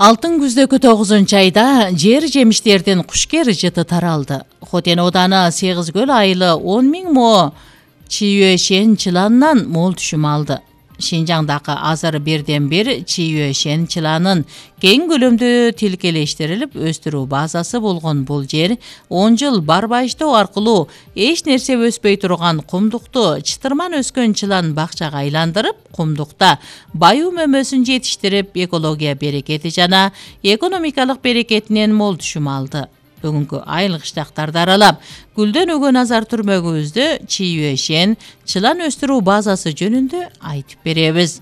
Алтын күздөгү 9-айда жер жемиштердин кушкер жыты таралды. Хотен ооданы 8 көл айылы 10 000 мо Чийюэшен чыланынан мол түшүм алды. Шинжаңдагы азыр бирден бир Чийюэшен чыланын кең көлөмдүү тилкелештирилип өстүрүү базасы болгон бул жер 10 жыл барбайыштоо аркылуу эч нерсе өспөй турган кумдукту чытырман өскөн чылан бакчага айландырып, кумдукта баюу мөмөсүн жетиштирип, экология берекети жана экономикалык берекетинен мол түшүм алды. Бүгүнкү айыл кыштактарды аралап, гүлдөн өгөн азар түрмөгүбүздө Чийюэшен чылан өстүрүү базасы жөнүндө айтып беребиз.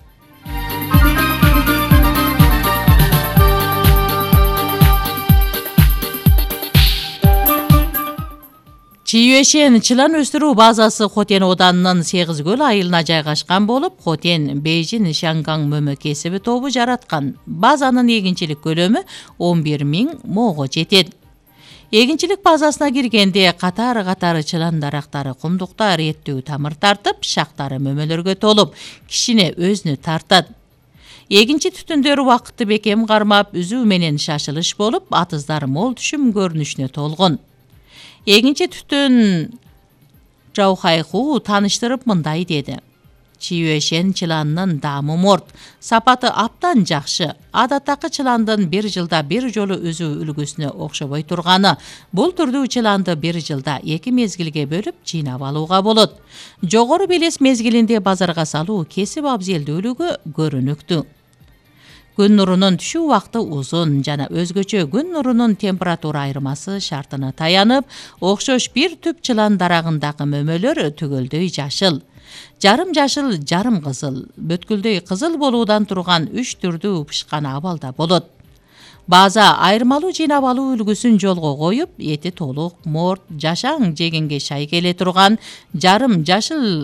Чийюэшен чылан өстүрүү базасы Хотен оодарынын 8 көл айылына жайгашкан болуп, Хотен Бейжин Шангаң мөмө кесиби тобу жараткан. Базанын эгинчилик көлөмү 11 000 мого жетет. Эгинчилик базасына киргенде катары чылан дарактары кумдукта реттүү тамыр тартып, шактары мөмөлөргө толуп, кишине өзүнө тартат. Эгинчи түтүндөр убакытты бекем кармап, үзүү менен шашылыш болуп, атыздар мол түшүм көрүнүшүнө толгон. Эгинчи түтүн Жаухайху тааныштырып мындай деди: Чийюэшен чыланынын даамы морт, сапаты аптан жакшы. Адаттагы чыландын 1 жылда 1 жолу үзүү үлгүсүнө окшобой турганы, бул түрдүү чыланды 1 жылда 2 мезгилге бөлүп жыйнап алууга болот. Жогору белес мезгилинде базарга салуу кесип абзелдүүлүгү көрүнүктүү. Күн нурунун түшүү убакыты узун жана өзгөчө күн нурунун температура айырмасы шартына таянып, окшош бир түп чылан дарагындагы мөмөлөр түгөлдөй жашыл, жарым жашыл, жарым кызыл, бүткүлдөй кызыл болуудан турган 3 түрдүү пышкан абалда болот. База айырмалуу жыйнап алуу үлгүсүн жолго коюп, эти толук, морт, жашаң жегенге шай келе турган жарым жашыл